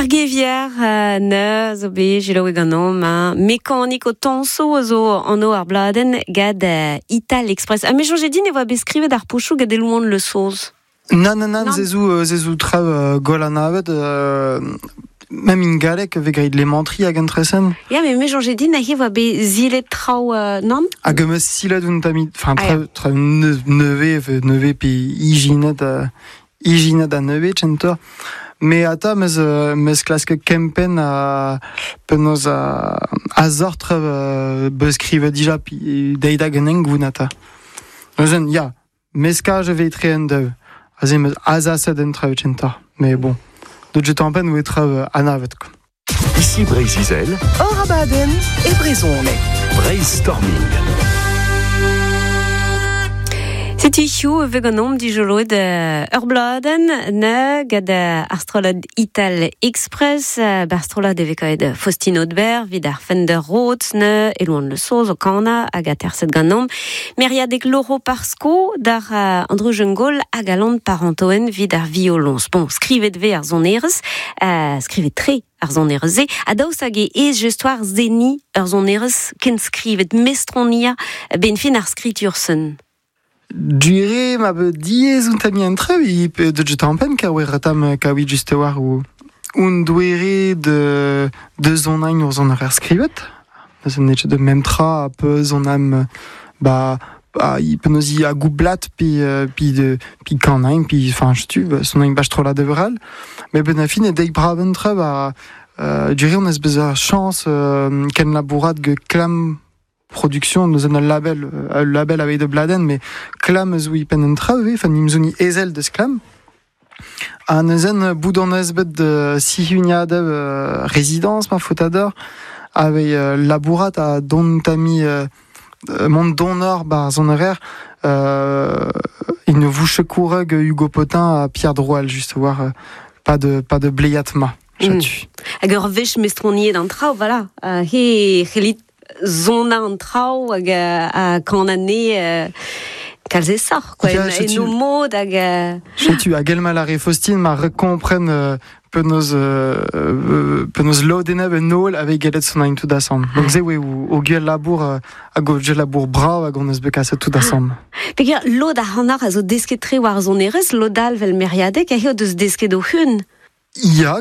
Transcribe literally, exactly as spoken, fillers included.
Ar gevier euh, ne zo be jilaoue ganom hein. Mekanik o tanso a zo an o ar bladen gad euh, Ital Express. A me jonge din e voa beskrivet ar pochou gad elouan le soz. Nan, nan, nan, zezou, euh, zezou trav euh, gol an avet, euh, même in galek ve grit lemantri hag entresen. Ya, me me jonge din a he voa be zilet traoù euh, nan? Hag eus silet un tamit, enfin, Ah, trav, trav neve, neve pe ijinet, euh, ijinet a neve, tchentor. Me ata meus, euh, meus klask kempen a penaos a, a zor trav euh, beus skrivet dija pi deida genen goun ata. Neuzen, ya, meskaj ve etre en dev. Aze meus azaset en trav tchentor. Mais bon, de jet en pen oe trav euh, anavet, quoi. Ici Breiz-Izel, Or abadenn e brezhoneg. Brainstorming. Setu hiziv e vez ganeomp dijoloet euh, ur bladenn ne gant euh, ar strollad Ital Express, euh, bar strollad e vez kaet Faustine Audebert, vid ar Fender Rhodes ne, Elouan Le Soz o kana hag a terset ganeomp. Meriadeg Loro Parsko d'ar euh, Andrew Jungol hag Alan Parentoen vid ar violons. Bon, skrivet ve ar zonerez, euh, skrivet tre ar zonerez ze, ha daoust hag e ez gestoar zeni ar zonerez ken skrivet mestronia ben fin ar skritur-sen. Dure ma be diez un tami en trev, i pe de jet en pen ka oe ratam ka oe juste war ou un douere de de zon ain ur zon ar skrivet. Neuzen net de mem tra a pe zon am ba ba i penaos i a goublat pi euh, pi de pi kan ain pi enfin je tu son ain bach tro la deveral. Mais ben a fin e deik braven trev a euh, dure on ez bez ar chance euh, ken labourat ge klam production nous un label euh, label avec de bladen mais klam zo i pen en trav enfin nimzoni ezel deus klam a neuzen bout an eus bet de sihuniad euh, résidence ma fautador avec euh, labourat a don tami euh, mont donor bar zon horaire euh, il ne vous secoureg Hugo Potin à Pierre Droual juste voir euh, pas de pas de bleiatma Mm. chatu. Hag ur wech mestroniet an traoù, voilà. Uh, he c'hellit zona an traoù hag euh, a kan ane euh, kalz e sor, quoi. Ya, En, setu- en o mod hag... Euh, Chetu hag el mal ar re Faustine ma rekompren euh, penaos euh, euh, penaos lodeneb en nol avec galet son ain tout assemble. Donc ze oe o, o gwell labour euh, hag o gwell labour brav hag on eus bet kaset tout assemble. Peger, lod ar c'hannar a zo desket tre war zonerez, lod all vel meriadeg, a he o deus desket o hun. Ya,